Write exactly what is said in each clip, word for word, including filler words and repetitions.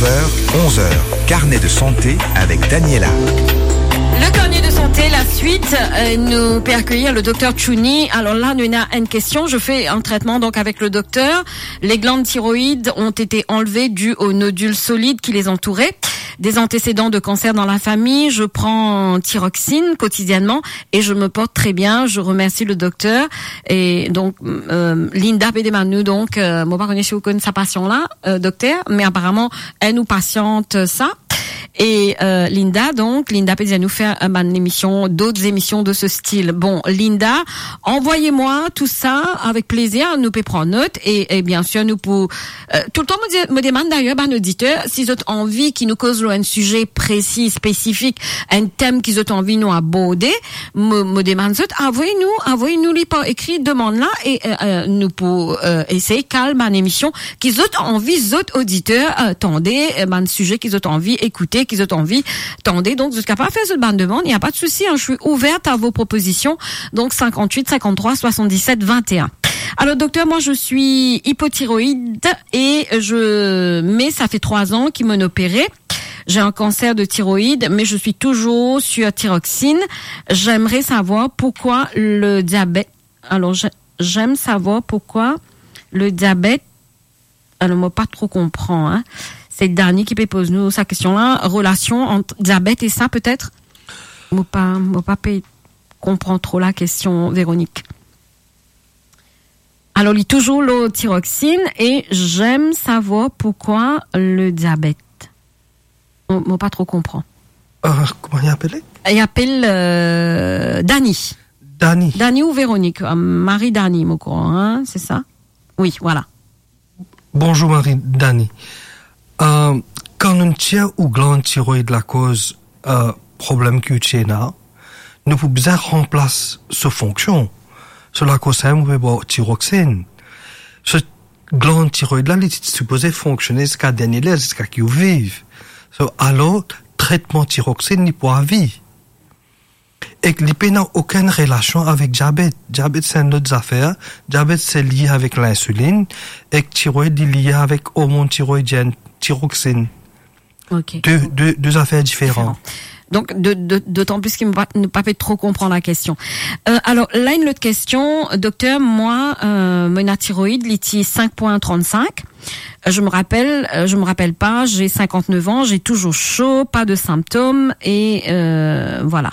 Neuf heures, onze heures, carnet de santé avec Daniela. Le carnet de santé, la suite, euh, nous peut accueillir le docteur Chouni. Alors là, nous avons une question. Je fais un traitement donc avec le docteur. Les glandes thyroïdes ont été enlevées dues aux nodules solides qui les entouraient. Des antécédents de cancer dans la famille. Je prends thyroxine quotidiennement et je me porte très bien. Je remercie le docteur. E donk, euh, Linda pe demann nou, donk, euh, mo pa kone si ou konn sa pasion la, euh, dokter, me aparaman, enn ou pasiant sa. E, euh, Linda, donk, Linda pe dir nou fer, euh, bann emision, dot emision de ce style. Bon, Linda, envoyez-moi tout ça avec plaisir, nou pe pran not, e, e bien sir, nou pou, euh, toultan mo di-, mo demann dayer bann oditer, si zot anvi ki nou koz lor enn size presi, spesifik, enn tem ki zot anvi nou aborde, mo, mo demann zot, avoy nou, avoy nou li par ekri demann la e, euh, euh, nou pou, euh, esey kal bann emision ki zot anvi zot oditer, euh, tande, euh, bann size ki zot anvi ekoute, ki zot anvi tande. Donk, zot kapav fer zot bann demann, il n'y a pas de souci, hein, je suis ouverte à vos propositions. Donc, cinquante-huit, cinquante-trois, soixante-dix-sept, vingt et un. Alors, docteur, moi, je suis hypothyroïde et je, mais ça fait trois ans qu'ils m'ont opéré. J'ai un cancer de thyroïde, mais je suis toujours sur thyroxine. J'aimerais savoir pourquoi le diabète. Alors, je, j'aime savoir pourquoi le diabète. Alors, mo pa tro konpran, hein. C'est Dani qui peut poser nous sa question-là. Relation entre diabète et ça, peut-être? Mo pa, mo pa pe konpran tro la question, Véronique. Alors, li touzour lor thyroxine et j'aime savoir pourquoi le diabète. Mo, mo pa tro konpran. Euh, kouma li apele? Li apel, euh, Dani. Dani. Dani ou Véronique? Euh, Marie Dani, mo krwar, hein, c'est ça? Oui, voilà. Bonzour Marie Dani. Euh, kan nou tir ou glann tiroid lakoz, euh, problem ki ou ti ena, nou pou bizin ranplas so fonksion. So lakoz sa, ou pe bwar tiroxine. So glann tiroid la, li ti sipoze fonksione ziska dernie ler, ziska ki ou viv. So, alor, tretman tiroxine, li pou avi. Ek li pena okenn relasion avek diabet. Diabet, se enn lot zafer. Diabet, se lie avek linsulinn. Ek tiroid, li lie avek ormonn tiroidienn, tiroxine. Ok. De, de, de zafer diferan. Diferan. Donk, de, de, dotan plis ki mo pa, nou pa pe tro konpran la kestion. Euh, alor, la, enn lot kestion, dokter, mwa, euh, mo ena tiroid, li ti cinq point trente-cinq. Euh, je me rappelle, euh, je me rappelle pas, j'ai cinquante-neuf ans, j'ai toujours chaud, pas de symptômes, et, euh, voilà.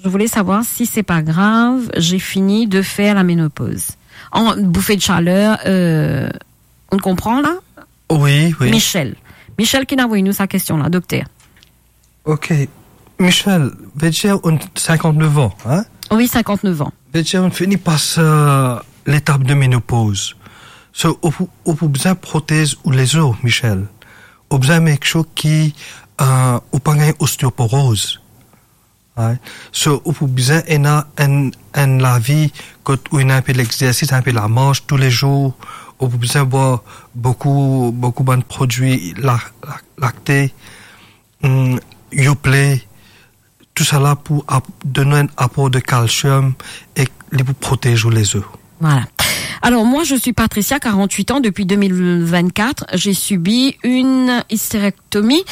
Je voulais savoir si c'est pas grave, j'ai fini de faire la ménopause. En bouffée de chaleur, euh, ou konpran la? Wi, wi. Michel. Michel ki inn avoy nou sa kestion la, dokter. Ok. Michel, vedir ou ena cinquante-neuf ans, hein? Wi, cinquante-neuf ans. Vedir ou fini pas, euh, letap de ménopause. So, ou pou, ou pou bizin protez ou lezo, Michel. Ou bizin make sure ki, euh, ou pa gagn osteoporoz. Right? So, ou pou bizin ena enn, enn lavi kot ou ena inpe lexersis, inpe lamars toulezour, ou pou bizin bwar boukou, boukou bann prodwi la-, la-, lakte, hmm, Yoplait, tousala pou ap-, donn enn apor de kalsiom ek li pou protez ou lezo. Voilà. Alors, moi, je suis Patricia, quarante-huit ans. Depuis deux mille vingt-quatre, j'ai subi une hystérectomie,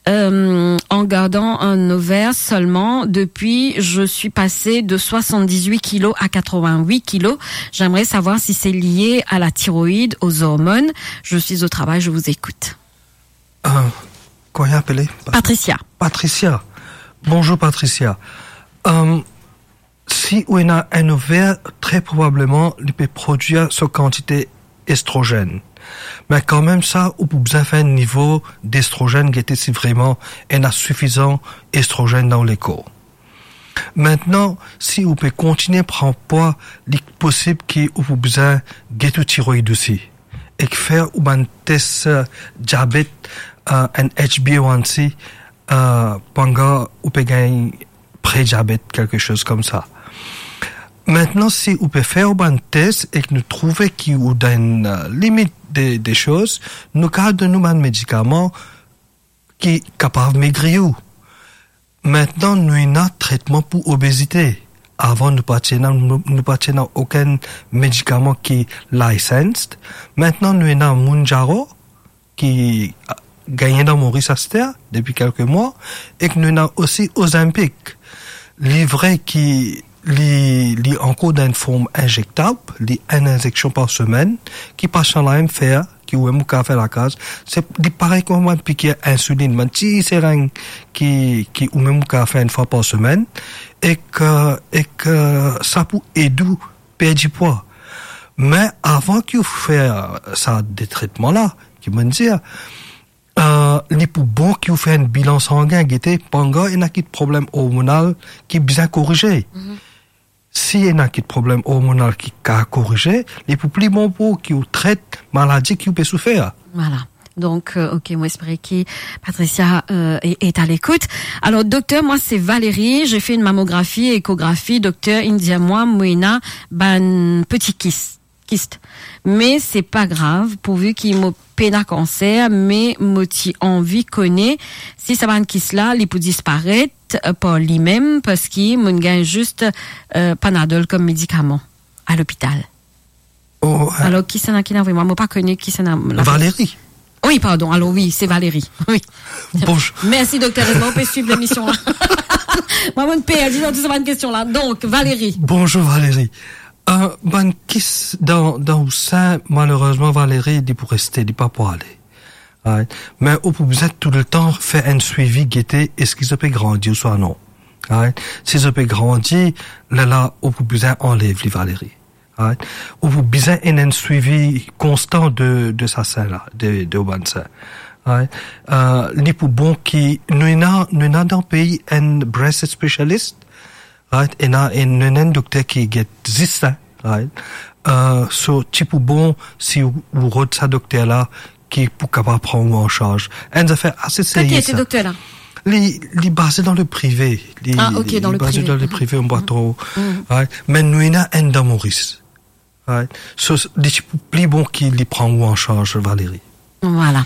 euh, en gardant un ovaire seulement. Depuis, je suis passée de soixante-dix-huit kilos à quatre-vingt-huit kilos. J'aimerais savoir si c'est lié à la thyroïde, aux hormones. Je suis au travail, je vous écoute. Euh, kouma li apele? Patricia. Patricia. Bonzour, Patricia. Euh, si ou ena enn ovaire, tre probableman, li pe prodwir so kantite estrozenn. Me kanmem sa, ou pou bizin fer nivo destrozenn, gete si vreman ena sifizan estrozenn dan ou lekor. Aster, si ou pe kontigne pran pwa, li posib ki ou pou bizin get ou tiroid osi, ek fer ou bann tes, euh, diabet, euh, enn H b A one c, euh, pandan ou pe gagn prediabet, kelke soz koumsa. Aster, si ou pe fer ou bann tes ek nou trouve ki ou dan enn, euh, limit de, de soz, nou kapav donn ou bann medikaman ki kapav megri ou. Aster, nou ena tretman pou obezite. Avan, nou pa ti ena, nou, nou pa ti ena okenn medikaman ki licensed. Aster, nou ena Mounjaro, ki, ah, gagne dan Moris aster, depi kelke mwa, ek nou ena osi Ozempic. Li vre ki li, li ankor dan enn form inzektab, li enn inzeksion par semenn, ki pasian la mem fer, ki ou mem ou kapav fer lakaz. Se, li parey kouma bann pikir insulin, bann ti sereng ki, ki ou mem ou kapav fer enn fwa par semenn, ek, eh, ek, eh, sa pou ed ou perdi pwa. Me avan ki ou fer sa de tretman la, ki mo dir, eh, li pou bon ki ou fer enn bilan sangin, gete, pangar ena kit problem ormonal ki bizin korize. Mhm. Si ena kit problem ormonal ki kapav korize, li pou pli bon pou ou ki ou tret maladi ki ou pe soufer. Voilà. Donc, euh, ok, mo espere ki Patricia, euh, est, est à l'écoute. Alors, docteur, moi, c'est Valérie. J'ai fait une mammographie, échographie. Docteur, inn dir mwa, mo ena bann peti kis, kist. Me se pa grav, pourvu ki mo pena kanser, me mo ti anvi kone si sa bann kis la, li pou disparet, euh, par limem, parski mo gagn zis, euh, Panadol kom medikaman a lopital. Oh, euh, Alors, kisannla ki inn avoy mwa? Mo pa kone kisannla. Valérie. Oui, pardon. Alors oui, c'est Valérie. Oui. Bonjour. Merci, docteur. Erezman ou pe swiv lemision la. Mwa, mo perdi dan tou sa bann kestion la. Donc, Valérie. Bonjour, Valérie. Euh, bann kis dan, dan ou sein, malerezman, Valérie, li pou reste, li pa pou ale. Right? Me ou pou bizin toultan fer enn swivi, gete eski zot pe grandi ouswa non. Right? Si zot pe grandi, lerla ou pou bizin anlev li, Valérie. Right? Ou pou bizin enn, enn swivi konstan de, de sa sein la, de, de ou bann sein. Right? Euh, li pou bon ki nou ena, nou ena dan pei enn breast specialist, right? Ena enn, enn, enn dokter ki get zis sa, right? Euh, so, ti pou bon si ou, ou rod sa dokter la ki pou kapav pran ou an sarz. Enn zafer ase serye sa. Ki dokter la? Li, li baze dan le prive. Li, Ah, ok, li, dan li le baze prive. dan le prive, mo pa tro. Mhm. Right? Me nou ena enn dan Moris. Right? So, li ti pou pli bon ki li pran ou an sarz, Valérie. Voilà.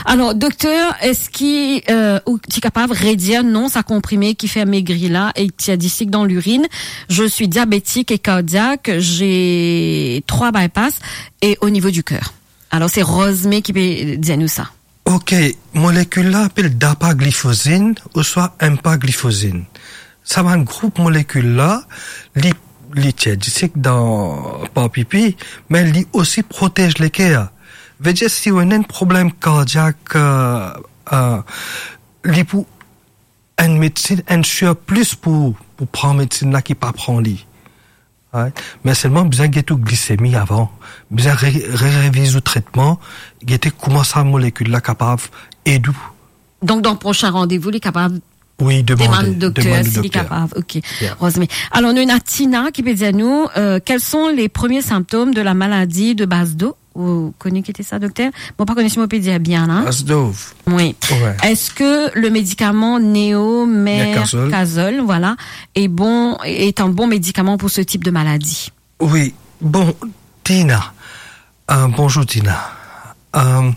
Alors, docteur, eski, euh, ou ti kapav redir non sa konprime ki fer megri la e ki tir disik dan lirinn? Je suis diabétique et cardiaque, j'ai trois bypass et au niveau du cœur. Alors, c'est Rosme ki pe dir nou sa. Ok, molekil la apel dapaglifozin ouswa empaglifozin. Sa bann group molekil la, li, li tir disik dan, par pipi, me li osi protez leker. Vedir si ou ena enn problem kardiak, euh, euh, li pou enn medsin, enn sir plis pou, pou pran medsin la ki pa pran li. Right? Me selman bizin get ou glisemi avan. Bizin re-, re-, reviz ou tretman, gete kouma sa molekil la kapav ed ou. Donc, dan prosin randevou, li kapav Wi, demande, demann dokter, demann si li dokter. kapav. Ok. Yeah. Rosme. Alors, nou ena Tina ki pe dir nou, euh, quels sont les premiers symptômes de la maladie de Basedow? Ou kone ki ete sa, dokter? Mo pa kone si mo pe dir bien la. Basedow. Wi. Wi. Est-ce que le médicament Néomércazole, Mércazole. voilà, est bon, est un bon médicament pour ce type de maladie? Wi. Bon, Tina. Euh, bonjour, Tina. Euh,